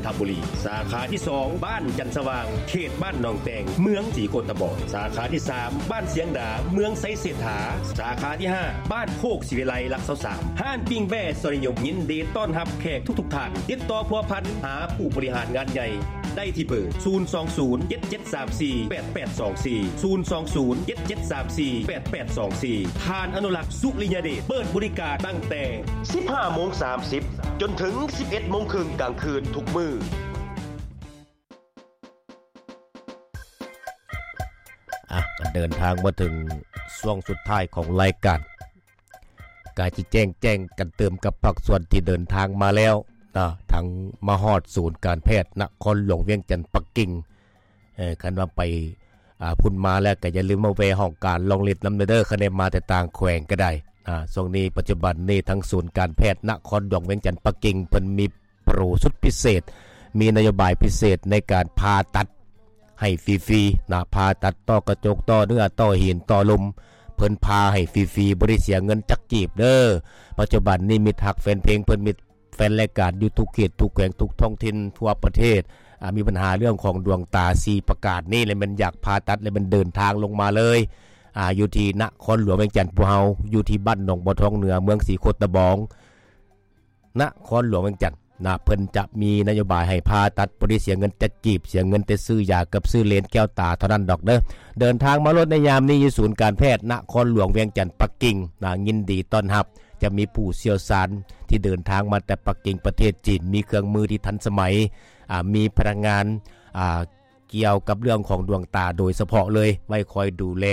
ທະບູລີ, ສາຂາທີສອງ ບ້ານຈັນສະຫວ່າງ ເຂດບ້ານໜອງແຕງ ເມືອງສີໂຄດຕະບອງ, ສາຂາທີສາມ ບ້ານຊຽງດາ ເມືອງໄຊເສດຖາ, ສາຂາທີຫ້າ ບ້ານໂຄກສີວິໄລ ຫຼັກຊາວສາມ. ຮ້ານປີ້ງແບ້ສອນນິຍົມ ຍິນດີຕ້ອນຮັບແຂກທຸກໆທ່ານ. ຕິດຕໍ່ພົວພັນຫາຜູ້ບໍລິຫານງານໃຫຍ່ໄດ້ທີ່ເບີ ສູນສອງສູນ ເຈັດເຈັດສາມສີ່ ແປດແປດສອງສີ່ ສູນສອງສູນ ເຈັດເຈັດສາມສີ່ ແປດແປດສອງສີ່. ທ່ານອະນຸລັກ ສຸລິຍະເດດ ເປີດບໍລິການຕັ້ງແຕ່ສິບຫ້າໂມງສາມສິບ ຈົນເຖິງສິບເອັດໂມງເຄິ່ງກາງຄືນທຸກມື້. ອ່ະ ກໍເດີນທາງມາເຖິງຊ່ວງສຸດທ້າຍຂອງລາຍການ, ກະຊິແຈ້ງ ແຈ້ງກັນຕື່ມກັບພາກສ່ວນທີ່ເດີນທາງມາແລ້ວເນາະ, ທັງມາຮອດສູນການແພດນະຄອນຫຼວງວຽງຈັນປັກກິ່ງ. ເອີ ຄັນວ່າໄປ ອ່າ ພຸ້ນມາແລ້ວກໍຢ່າລືມມາແວ່ຫ້ອງການລອງລິດນຳເດີ, ຄັນໄດ້ມາແຕ່ຕ່າງແຂວງກໍໄດ້. ອ່າ ຊ່ວງນີ້ ປັດຈຸບັນນີ້ ທາງສູນການແພດນະຄອນຫຼວງວຽງຈັນປັກກິ່ງ ເພິ່ນມີໂປຣສຸດພິເສດ, ມີນະໂຍບາຍພິເສດໃນການຜ່າຕັດໃຫ້ຟຣີໆນະ, ຜ່າຕັດຕໍ່ກະຈົກ, ຕໍ່ເນື້ອ, ຕໍ່ຫີນ, ຕໍ່ລົມ, ເພິ່ນຜ່າໃຫ້ຟຣີໆ ບໍ່ໄດ້ເສຍເງິນຈັກກີບເດີ. ປັດຈຸບັນນີ້ ມິດຮັກແຟນເພງເພິ່ນ ມິດ ແຟນລາຍການຢູ່ທຸກເຂດທຸກແຂວງທຸກທ້ອງຖິ່ນທົ່ວປະເທດ ອ່າ ມີບັນຫາເລື່ອງຂອງດວງຕາ ສີ່ປະການນີ້ ແລະແມ່ນຢາກຜ່າຕັດ ແລະແມ່ນເດີນທາງລົງມາເລີຍ ອ່າ ຢູ່ທີ່ນະຄອນຫຼວງວຽງຈັນ. ພວກເຮົາຢູ່ທີ່ບ້ານໜອງບໍ່ທອງເໜືອ ເມືອງສີໂຄດຕະບອງ ນະຄອນຫຼວງວຽງຈັນນະ, ເພິ່ນຈະມີນະໂຍບາຍໃຫ້ຜ່າຕັດ ບໍ່ໄດ້ເສຍເງິນຈັກກີບ, ເສຍເງິນແຕ່ຊື້ຢາກັບຊື້ເລນແກ້ວຕາເທົ່ານັ້ນດອກເດີ. ເດີນທາງມາໂລດໃນຍາມນີ້ ຢູ່ສູນການແພດນະຄອນຫຼວງວຽງຈັນປັກກິ່ງນະ, ຍິນດີຕ້ອນຮັບ. ຈະມີຜູ້ຊ່ຽວຊານທີ່ເດີນທາງມາແຕ່ປັກກິ່ງປະເທດຈີນ, ມີເຄື່ອງມືທີ່ທັນສະໄໝ, ອ່າ ມີພະນັກງານ ອ່າ ກ່ຽວກັບເລື່ອງຂອງດວງຕາໂດຍສະເພາະເລີຍ, ໄວ້ຄອຍດູແລ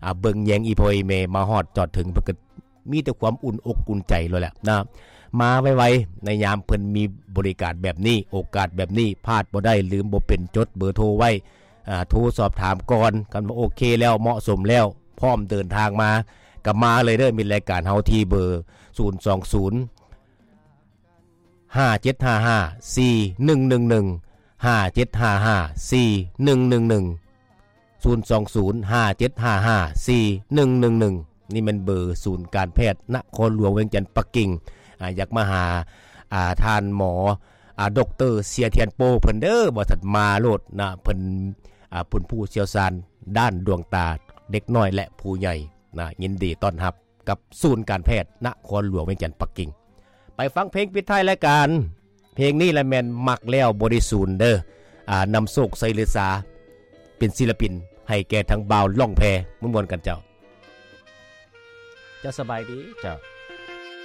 ອ່າ ເບິ່ງແຍງອີ່ພໍ່ອີ່ແມ່. ມາຮອດຈອດເຖິງ ເພິ່ນກໍມີແຕ່ຄວາມອຸ່ນອົກອຸ່ນໃຈໂລດແຫຼະນະ, ມາໄວໆ ໃນຍາມເພິ່ນມີບໍລິການແບບນີ້, ໂອກາດແບບນີ້ ພາດບໍ່ໄດ້, ລືມບໍ່ເປັນ, ຈົດເບີໂທໄວ້ ອ່າ ໂທສອບຖາມກ່ອນ. ຄັນວ່າໂອເຄແລ້ວ ເໝາະສົມແລ້ວ ພ້ອມເດີນທາງມາ ກໍມາເລີຍເດີ. ມີລາຍການເຮົາທີ່ເບີ ສູນສອງສູນ ຫ້າເຈັດຫ້າຫ້າ ສີ່ໜຶ່ງໜຶ່ງໜຶ່ງ ຫ້າເຈັດຫ້າຫ້າ ສີ່ໜຶ່ງໜຶ່ງໜຶ່ງ ສູນສອງສູນ ຫ້າເຈັດຫ້າຫ້າ ສີ່ໜຶ່ງໜຶ່ງໜຶ່ງ. ນີ້ແມ່ນເບີສູນການແພດນະຄອນຫຼວງວຽງຈັນປັກກິ່ງ. ອ່າ ຢາກມາຫາ ອ່າ ທ່ານໝໍ ອ່າ ດອກເຕີ ເຊຍທຽນໂປ ເພິ່ນເດີ ວ່າຊັ້ນ, ມາໂລດນະ. ເພິ່ນ ອ່າ ເປັນຜູ້ຊ່ຽວຊານດ້ານດວງຕາເດັກນ້ອຍ ແລະ ຜູ້ໃຫຍ່ນະ. ຍິນດີຕ້ອນຮັບ ກັບສູນການແພດນະຄອນຫຼວງວຽງຈັນປັກກິ່ງ. ໄປຟັງເພງປິດທ້າຍລາຍການ. ເພງນີ້ລະແມ່ນມັກແລ້ວບໍ່ໄດ້ສູນເດີ. ອ່າ ນຳໂຊກ ໄຊລືສາ ເປັນສິລະປິນໃຫ້ແກ່ທາງບ່າວລ່ອງແພ. ມ່ວນໆກັນເຈົ້າ. ເຈົ້າສະບາຍດີເຈົ້າ.